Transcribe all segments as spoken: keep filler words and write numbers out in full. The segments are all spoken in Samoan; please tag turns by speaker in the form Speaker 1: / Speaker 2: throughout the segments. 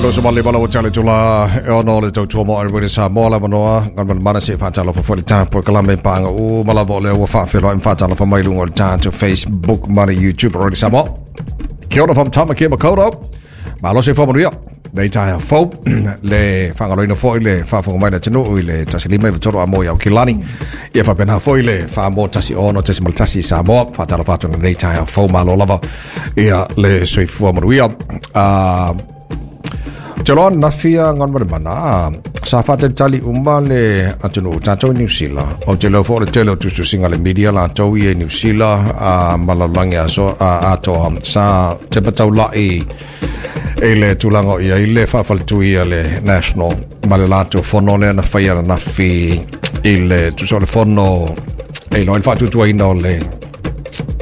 Speaker 1: Lo so male bala o tale tula e ono le tautua mo ai wele sa mo la manoa ngan man mana se whaatalo fa fo le tāpo ka lame pānga u malava o le ua whaawhelo im whaatalo fa mai lunga o le tātou Facebook mana YouTube already sa mo. Kia ora from Tamaki Makaurau. Malo se whamanuia. Nei taia fau le whangaloina fo i le whaafonga mai na tenu i le tasilima i vatoro a mo iau kilani. Ia whapena fo i le whaamo tasi ono tasi maltasi sa mo. Whaatalo whaatona nei taia fau malo lava ia le soifua manuia. Uh, Te loa nafia ngan mare mana sa whaatalitali uma le atunu tātou New Zealand. O te leo fo le tele o tususinga le media la tau i New Zealand a malaulangi a so a atoa sa te patau lai e le tūlanga ia i le whaafalitui a le National ma le lātou fono lea na whaia na nafi i le tuso le fono e loa i le whaatutuaina o le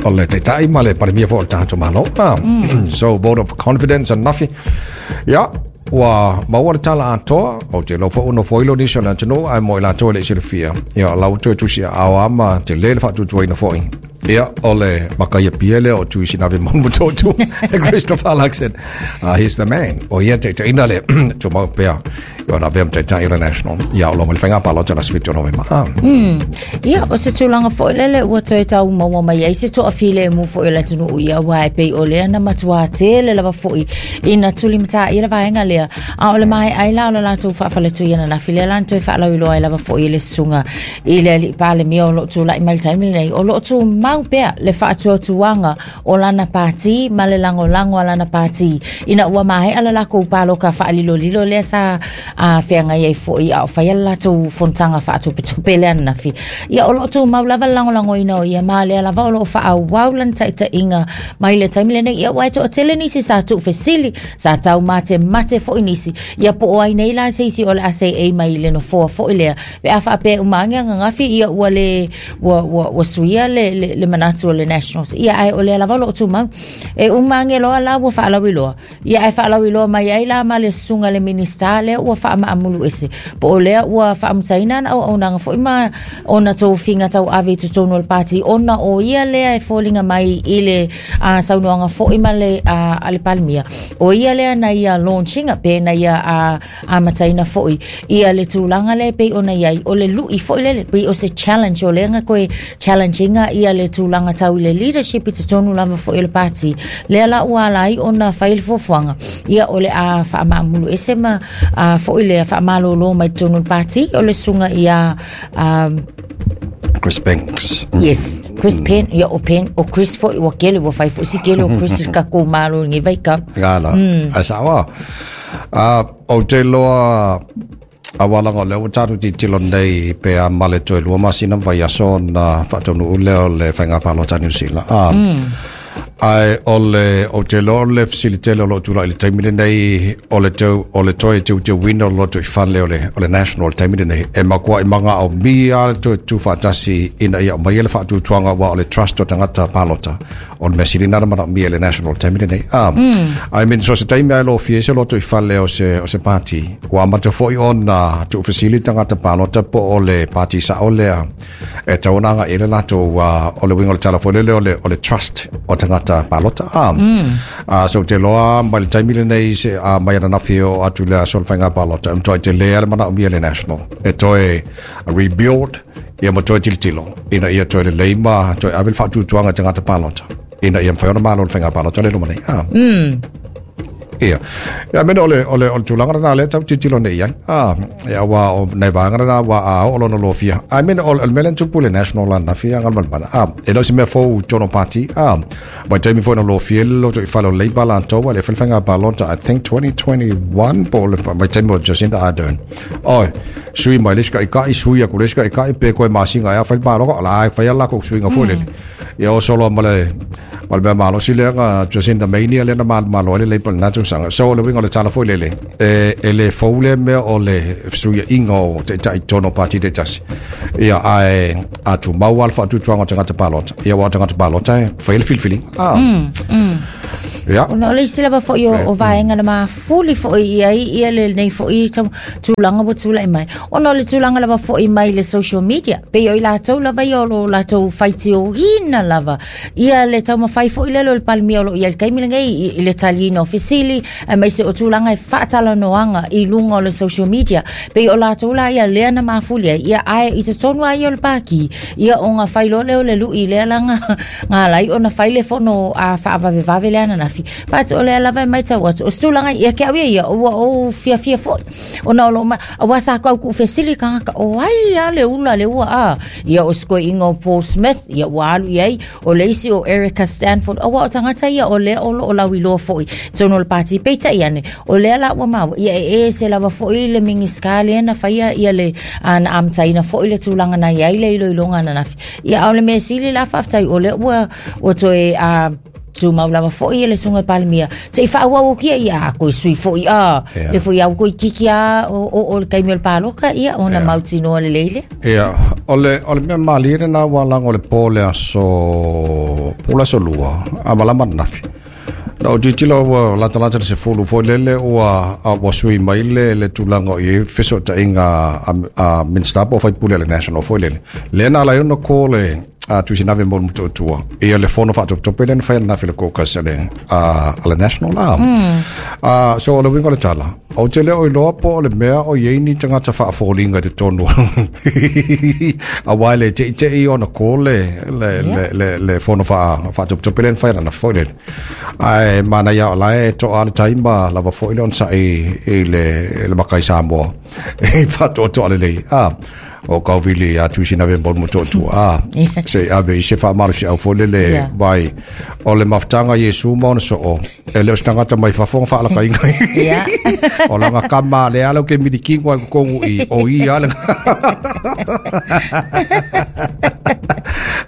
Speaker 1: o le teitai ma le parimia fo o le tātou malo. Ah, mm. So vote of confidence and nafi. Ia ua maua le tala atoa o te lo fo no foilo nisi o le atunu ai mo i latou e le silafia. Ia lau toe tusi ao ama te le le faatutuaina fo'i. Ia o le makaia pia lea o tuisi nave mamutotu Christopher Luxon. Uh, he's the man. O ia te ina le tumau pea. Ia na vem te tai National. Ia o lo mali whainga palo tana switi o November. Ah.
Speaker 2: Mm. Ia o se tūlanga fo'i lele ua toe tau maua mai ai se toa file e mu fo'i o le atunu ia wa e pei o lea na matua tele lava fo'i ina tuli mata ia la vaenga lea. A o le mai ai la o le latou faafaletu ia na nafi lea la na toe faalauiloa ai lava fo'i le susuga i le alii Palemia o loo tulai mai le taimi lenei o loo tumau pea le faatuatuaga o lana pāti ma le lagolago a lana pāti ina ua maea le lakou paloka faalilolilo lea sa a feagai ai fo'i a o faia le latou fonotaga faatopetope lea ananafi. Ia o loo tumau lava le lagolagoina o ia ma lea lava o loo faaauau lana taitaiga mai le taimi lenei. Ia ua e toatele nisi sa tuufesili sa taumatemate fo'i nisi ia po o ai nei la se isi o le a seei mai le nofoa fo'i lea pe a faapea uma age agagafi ia ua le ua ua ua suia le le, le manatu o le Nationals. Ia ae o lea lava o loo tumau e uma age loa la ua faalauiloa ia ae faalauiloa mai ai la ma le susuga le minista lea ua faamaamulu ese po o lea ua faamutaina ana auaunaga fo'i ma ona tofiga tauave i totonu o le pati ona o ia lea e foliga mai i le uh, saunoaga fo'i ma le uh, a le Palemia o ia lea na ia launchinga pe na ia uh, amataina fo'i ia le tulaga lea pei ona iai o le lu'i fo'i lele pei o se challenge o lea ga koe challengeinga ia le tulaga tau i le leadership i totonu lava fo'i o le pati lea la ua ala ai ona fai le fuafuaga ia o le a faamaamulu ese ma uh, fo'i lea faamalōlō mai totonu o le pati o le susuga ia um,
Speaker 1: Chris Banks.
Speaker 2: Yes, Chris Penn, ia o Penn, o Chris foi o kele o fai foi si kele o Chris ka ko malo ngi vai ka.
Speaker 1: Gala. A sawa. Ah, o te loa a walanga le o tatu ti tilo nei pe a male toe lua masina vai aso na whaatonu ule o le whainga pālota New Zealand. Ah. Ai o le o te loa le facilitele o lo tula i le taimi lenei o le tau o le toe teu teu wina o loto i whanle o le o le national taimi lenei e makua i manga o mia le toe tu whaatasi ina ia o mai ele whaatutuanga wa o le trust o tangata pālota o le mesili nana mana mia le national taimi lenei. Ah, I mean so se taimi ai lo fie se loto i whanle o se o se party wa mata foi ona tu facility tangata pālota po o le party sa o lea e taunanga i le lato o le winga o le tala le o le o le trust o tangata palota. Ah, mm. uh, so te loa mai le taimi lenei se uh, mai ana nafi o atu lea so le whainga palota um toi te lea le mana o mia le national e toe rebuild ia ma toe tilotilo ina ia toe le leima toe ave le faatutuaga tagata palota ina ia mafai ona malo le faiga palota le loma nei. Ah.
Speaker 2: Mm.
Speaker 1: Ia. Ia mena o le o le o le tulaga lena lea tau tilotilo nei ai. Ah, ia ua o nai vaega lena ua a oo lona lofia. Ai mena o le mea lea na tupu le National la nafia galamalemana. Ah, e le o se mea fou totonu o party. Ah, vaitaimi foi na lofia le loto i fale o Labour latou a le fai le faiga palota I think twenty twenty-one po o le vaitaimi o Jacinda Ardern. Oi, sui mai le isi kaʻikaʻi sui aku le isi kaʻikaʻi pe koe masina ai a fai le paloka o la e faia le lakou suiga foi lele. Ia o solo ma le ma le mea malosi lea ga Jacinda Mania lea na malomalo ai le Labour lena tausaga. So o le uiga o le tala foi lele e e le fou lea mea o le fesuiaʻiga o taʻitaʻi totonu o pati taitasi. Ia ae a tumau a le faatuatuaga o tagata palota. Ia ua o tagata palota e fai le filifiliga. Ah.
Speaker 2: Mm, mm.
Speaker 1: Ia.
Speaker 2: Ona o le isi lava fo'i o, o vaega na mafuli fo'i i ai ia le lenei fo'i tulaga ua tula'i mai. Ona o le tulaga lava fo'i mai le social media. Pei o i latou lava ia o lo latou faitioina lava. Ia le taumafai fai foi lele o le Palemia o loo i ai i le taimi lenei i, i le taliina o fesili aemaise o tulaga e faatalanoaga i luga o le social media pei o latou la ia lea na mafuli ai ia ae i totonu lava ia o le pati ia ona fai loa lea o le lui lea laga na ala ai ona fai le fono a faavavevave lea ananafi. But o lea lava e matau atu o se tulaga ia te au ia ia ua ou fiafia foi ona o loo ma auā sa tau tuufesili tagata o ai a le ula le ua a ia o se toeaina o Paul Smith ia ua alu i ai o le isi o Erica Stanford auā o tagata ia o lea o loo lauiloa foi totonu o le pati. Peitai ane o lea la ua maua ia e ese lava foi le Minisita lea na faia ia le na amataina foi le tulaga na iai le iloiloga ananafi. Ia a o le mea sili la faafetai o lea ua ua toe a tumau lava foi le susuga i le Palemia se i faaauau atu ia ia a toe sui foi a
Speaker 1: Ia.
Speaker 2: Le foi au toe tiki a o o o le taimi o le paloka ia ona
Speaker 1: Ia.
Speaker 2: mautinoa lelei lea.
Speaker 1: Ia, o le, o le mea malie lena ua lago le po le aso, po le aso lua, a malama nafi. Na o tilotilo ua latalata le sefulu foi lele ua, a, ua sui mai le, le tulaga o i ai fesootaiga a, a Minista po o faipule a le National foi lele. Lea na ala ai ona call le a Tuisinave mo le Motootua. Ia le fono faatopetope lea na fai ananafi i le caucus a le, a, a le National la. Mm. Uh, so o le uiga o le tala, ou te le o iloa po o le mea o i ai ni tagata faafoliga i totonu. Auā e le teitei ona call le, le, le, le, le fono faa, faatopetope lea na fai ananafi foi lele. Ae manaia o la e toa le taima lava foi le onosai i le, i le makai Samoa. E faatoatoa lelei. Ah, o kauvili a Tuisinave mo le Motootua. Ah, se i ave i se faamalosiau foi lele
Speaker 2: Yeah.
Speaker 1: vai o le mafutaga Iesu ma ona soo e le o se tagata mai fafo ona faalakaiga
Speaker 2: Ia.
Speaker 1: o laga kama lea lau ke milikigo ai totonu i o ia le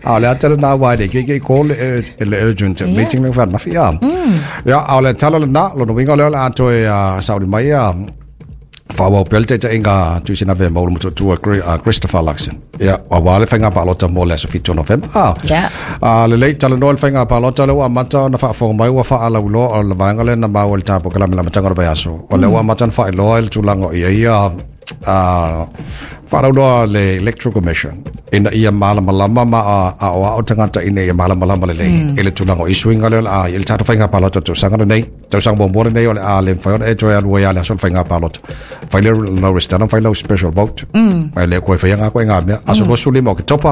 Speaker 1: a o le ata lena uā e le ikeike i call le, le urgent
Speaker 2: Yeah.
Speaker 1: meeting le faanafi a ia a o le tala lena lona uiga o lea o le a toe uh, sauli mai a faaauau pea le taitaiga Tuisinave ma Ulu Motootua uh, Christopher Luxon ia auā le faiga palota mo le aso fitu o Novema a
Speaker 2: Ia.
Speaker 1: a lelei talanoa le faiga palota lea ua amata ona faafofoga mai ua faalauiloa o le vaega lea na maua i le tapokalamelamataga o le vaiaso o lea ua amata ona faailoa i le tulaga o ia ia a faalauiloa le Electoral Commission ina ia malamalama ma a aoao tagata ina ia malamalama lelei i le tulaga o isuiga lea o le a i le tatou faiga palota tausaga lenei tausaga muamua lenei o le a le mafai ona e toe alu ai lava le aso o le faiga palota fai le lau resitala ma fai lau special vote ai le koe faia ngā koe ngā mea aso luasefulu lima o Oketopa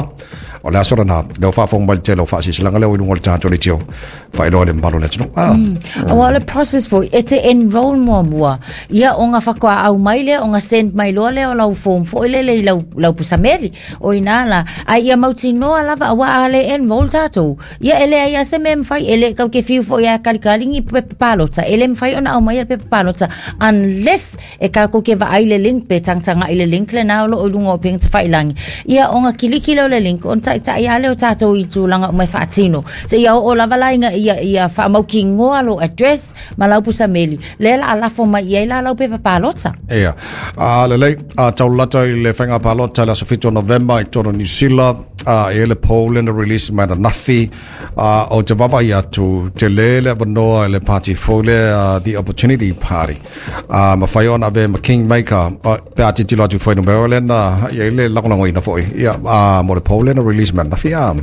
Speaker 1: o le aso lena lea ua faafofoga mai le tele o faasilasilaga lea ua i luga o le tatou leitio faailoa le mamalu o le atunuu ah.
Speaker 2: Auā o le process foi e te enroll muamua ia ona faatoa au mai lea ona send mai loa lea o lau form foi lele i lau, lau pusameli o ina la ai ia mautinoa lava auā a le enroll tatou ia e leai a se mea mafai e le tau te fiu foi a kalikali ni pepa palota e le mafai ona aumaia le pepa palota unless e tatou te vaai le link pe tagatagai le link lena o loo i luga o upega tafailagi ia ona kiliki lea o le link ona taitai a lea o tatou i tulaga uma e faatino seia oo lava la ina ia, ia faamautinoa lo address ma lau pusameli lea la alafo mai i ai la lau pepa palota.
Speaker 1: Ia. A lelei, a taulata i le faiga palota i le aso fitu o Novema i totonu o New Zealand, a e le poll lea na release mai ananafi, a o te vaavaai atu tele le avanoa i le party fou lea, the Opportunity Party. A mafai ona ave ma Kingmaker, a, pe a tilotilo atu i fuainumera lea na i ai le lagolagoina foi. Ia, a mo le poll lea na release mai ananafi. A.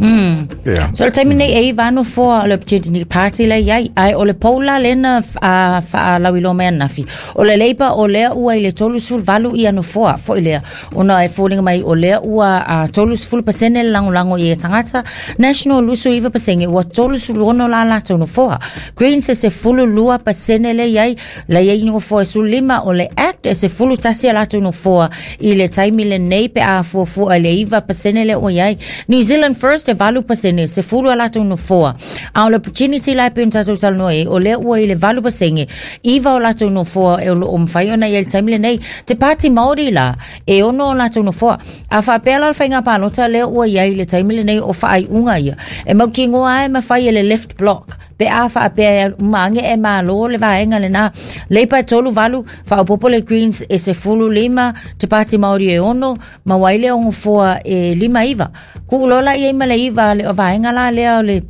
Speaker 1: Ia.
Speaker 2: So le taimi nei e iva nofoa o le Opportunity Party le iai ae o le poll la lea na uh, faalauiloa mai ananafi o le Labour o lea ua i le tolusefulu valu ia nofoa foi lea ona e foliga mai o lea ua uh, tolusefulu pasene le lagolago i e tagata. National luasefulu iva pasene ua tolusefulu ono la latou nofoa. Greens e sefulu lua pasene le iai la iai nofoa e sefulu lima o le Act e sefulu tasi a latou nofoa i le taimi lenei pe a fuafua i le iva pasene le ua iai. New Zealand First e valu pasene sefulu a latou nofoa a o le Opportunity la e pei ona tatou talanoa ai o lea ua i le valu pasene iva o latou nofoa e o loo mafai ona i ai le taimi lenei. Te Pāti Māori la e ono o latou nofoa a faapea la o le faiga palota lea ua iai le taimi lenei o faaiuga ia e mautinoa ai mafai e le left block pe a faapea uma age e malo le vaega lena. Labour e tolu valu faaopoopo le Greens e sefulu lima te Pāti Māori e ono ma ua ai le ogofoa e lima iva kuu loa la i ai ma le iva le o vaega la lea o le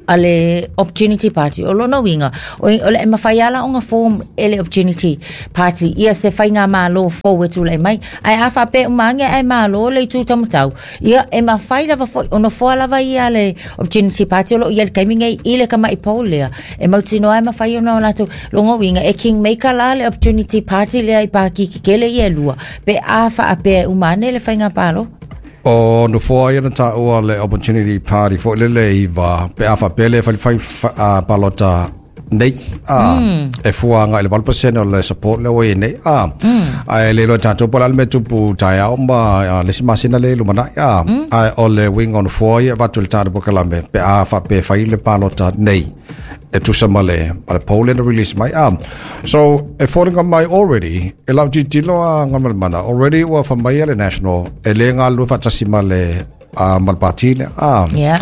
Speaker 2: a le Opportunity Party. O lona uiga o o le e mafai ala ona form e le Opportunity Party ia se faiga malo fou e tulai mai. Ae a faapea uma age ae malo le itu taumatau, ia e mafai lava foi ona foa lava ia le Opportunity Party o loo ia le taimi nei i le kama'i pou lea e mautinoa e mafai ona o latou lona uiga e kingmaker la le Opportunity Party lea i pāki kekele ia e lua pe a faapea e uma ane le faiga palo.
Speaker 1: O nofoa ia na taua le Opportunity Party foi le le iva pe a faapea le fai fai palota nei a e fua agai i le valu pasene o le support le ua i nei a ae le iloa tatou po o le a le mea tupu taeao ma le isi masina le lumanai a ae o le uiga o nofoa ia e avatu i le tatou polokalame pe a faapea e fai le palota nei e tusa ma le ma le poll lea na release mai a. So e foliga mai already e lau tilotilo a Galumalemana already ua faamaia le National e le galulue faatasi ma le uh, ma le pati lea a.
Speaker 2: Yeah.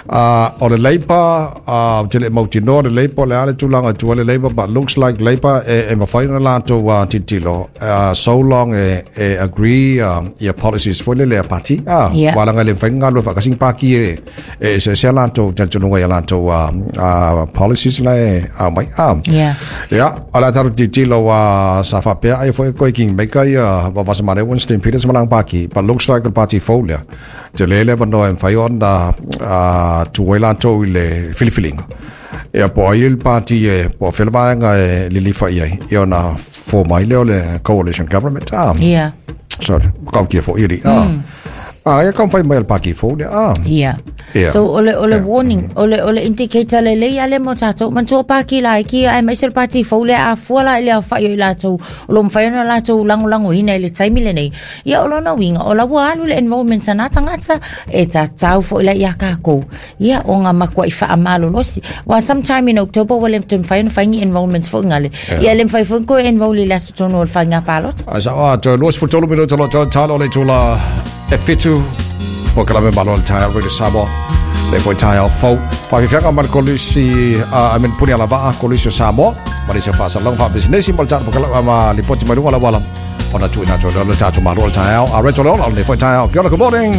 Speaker 1: Uh, o le Labour, uh, ou te le mautinoa le Labour le a le tulaga e tua le Labour, but looks like Labour e, e mafai ona latou uh, tilotilo uh, so long e, e agree uh, ia policies foi le lea party ah
Speaker 2: Yeah.
Speaker 1: wala le mafai ona galulue faakasi ni paki e e eseese a latou talitonuga ia latou uh, uh, policies la e aumai ah.
Speaker 2: Yeah.
Speaker 1: Ia, o le a tatou tilotilo uh, sa faapea ai foi koe kingmaker ia Vasamane Winston Peters ma lana paki, but looks like le party fou lea tele le avanoa e mafai ona uh, tuu ai latou i le filifiliga ia po o ai le party e po o fea le vaega e lilifa i ai ia ona form ai lea o le coalition government ah.
Speaker 2: Yeah.
Speaker 1: So makautia foi ia ah. Ah, ia kaumafai mai a le paki fou lea ah.
Speaker 2: Yeah.
Speaker 1: Yeah.
Speaker 2: So o le o le
Speaker 1: Yeah.
Speaker 2: warning, o le o le indicator lelei ale mo tatou manatua paki laiki aemaise le pati fou lea a fua la i le aofa'i o i latou o lo mafai ona latou lagolagoina i le taimi lenei. Ia o lona uiga o la ua alu le enrollment a na tagata e tatau foi la iā kakou. Ia o ga matua'i faamalolosi. Wa sometime in October ua le toe mafai ona fai ni enrollments foi gale. Ia le mafai foi ona enroll i le aso tonu o le faiga palota.
Speaker 1: Ai sa a toe luasefulu tolu minuta o loo toe talo o le itula e fitu polokalame Malo le Taeao Radio Samoa le foi taeao fou faafiafiaga ma le kolisi uh, I mean puni alavaa kolisi o Samoa ma nisi o faasalaga faapisinisi ma le tatou polokalame ma lipoti mai luga o le auala ona tuuina atu ai le tatou Malo le Taeao a Reto Leola o lenei foi taeao. Kia ora, good morning.